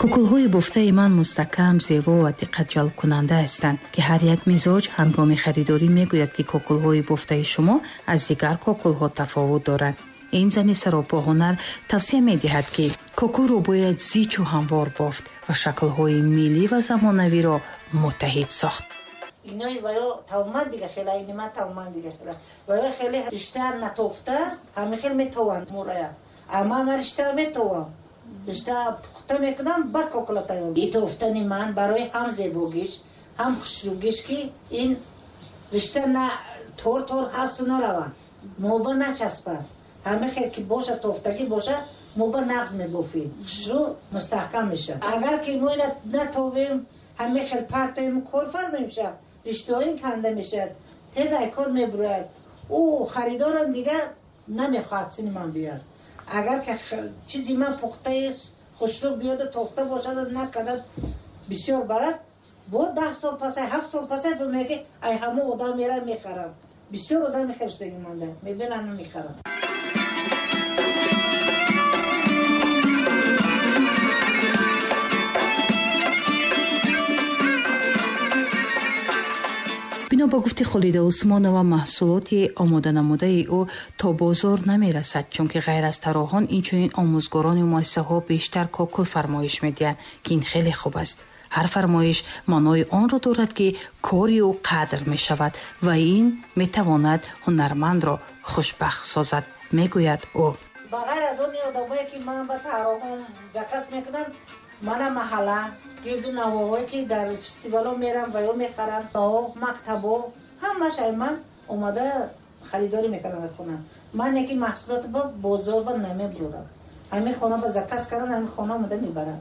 Кукулҳои бофтаи ман мустаҳкам, зебо ва диққатҷалбкунанда ҳастанд, ки ҳар як мизоҷ ҳангоми харидорӣ мегӯяд, ки кокулҳои бофтаи шумо аз дигар кокулҳо тафовут доранд. Ин зани саропоҳунар тавсия медиҳад, ки кокулро бояд зичу ҳамвор бофт ва шаклҳои миллӣ ва замонавиро муттаҳид сохт. Инои ваё тавман дига хела, ини ман тавман дига хела. Ваё хеле ришта натофта, ҳами хел метованд мурая. Ама ман ришта метовам. Ришта пухта мекунам, баъд кокула тайёр. И тофтани ман барои ҳам зебогиш, ҳам хушрӯгиш, ки ин ришта на тор тор ҳар су наравад, моба начаспад. Ҳама хел ки боша, тофтагӣ боша, моба нағз мебофем, хушрӯ мустаҳкам мешавад. Агар ки мо ина натовем, ҳама хел партоем, кор фарма мешавад, риштаҳоим канда мешавад, тез ай кор мебурояд. Ӯ харидорам дига намехоҳад сини ман биёяд. Агар ки чизи ман пухтаи хушрӯ биёда, тофта бошад, накарда бисёр барад, бо 10 сол пасай, 7 сол пасай меги, ай ҳамо одам мера мехарам. Бисёр одам мехариштагӣ манда мебинам, мехарам. Бино ба гуфти Холида Усмонова, маҳсулоти омоданамудаи ӯ то бозор намерасад, чунки ғайр аз тарроҳон инчунин омӯзгорони муассисаҳо бештар кокул фармоиш медиҳанд, ки ин хеле хуб аст. Ҳар фармоиш маънои онро дорад, ки кори ӯ қадр мешавад ва ин метавонад ҳунармандро хушбахт созад, мегӯяд ӯ. Ба ғайр аз он одамое, ки ман ба тарроҳон заказ мекунам, мана маҳалла, гирду навоҳое, ки дар фестивалҳо мерам ва ё мехарам, мактабо, ҳамаш ай ман омада харидорӣ мекунанд аз хона. Ман яки маҳсулот ба бозор ба намебурам, ҳамин хона ба заказ кардан, ҳамин хона омада мебарам.